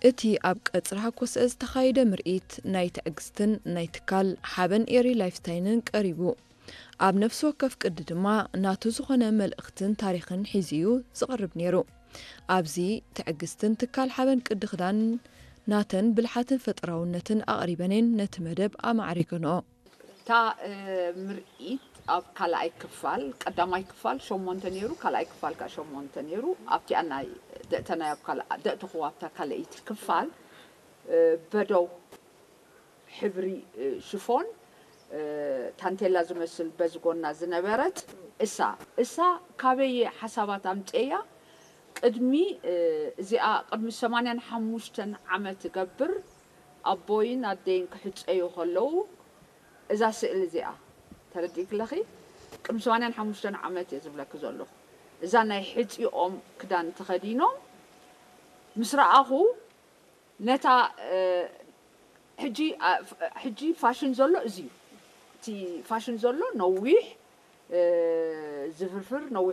እቲ ኣብ ቀጽሪ ሃኮስአ ዝተኻየደ ምርኢት ናይ ትዕግስትን ናይ ትካል ሓበን ኤሪ ላይፍስታይንን ቀሪቡ። ኣብ ነፍሲ ወከፍ ቅዲ ድማ ናቱ ዝኾነ መልእኽትን ታሪኽን ሒዙ እዩ ዝቐርብ ነይሩ። ኣብዚ ትዕግስትን ትካል ሓበን ቅዲ ክዳን ናተን ብልሓትን ፈጠራውነትን ኣቕሪበን እየን ነቲ መደብ ኣማዕሪገንኦ። እታ ምርኢት ኣብ ካልኣይ ክፋል፣ ቀዳማይ ክፋል ሸሞንተ ነይሩ፣ ካልኣይ ክፋል ከዓ ሸሞንተ ነይሩ። ኣብቲኣ ናይ ደእተናይ ኣብ ካልኣ ደእተኹ ኣብታ ካልኣይቲ ክፋል በደው ሕብሪ ሽፎን ታንቴላ ዝመስል በዚ ጎና ዝነበረት እሳ እሳ ካበየ ሓሳባት ኣምፀያ ቅድሚ እዚኣ ቅድሚ ሰማንያን ሓሙሽተን ዓመት እገብር ኣቦይን ኣደይን ክሕፀዩ ከለዉ እዛ ስእሊ እዚኣ ተረዲእክለኺ ቅድሚ ሰማንያን ሓሙሽተን ዓመት እየ ዝብለኪ ዘለኹ እዛ ናይ ሕፂኦም ክዳን ተኸዲኖም ምስ ረኣኹ ነታ ሕጂ ፋሽን ዘሎ እዚ እዩ እቲ ፋሽን ዘሎ ነዊሕ ዝፍርፍር ነዊሕ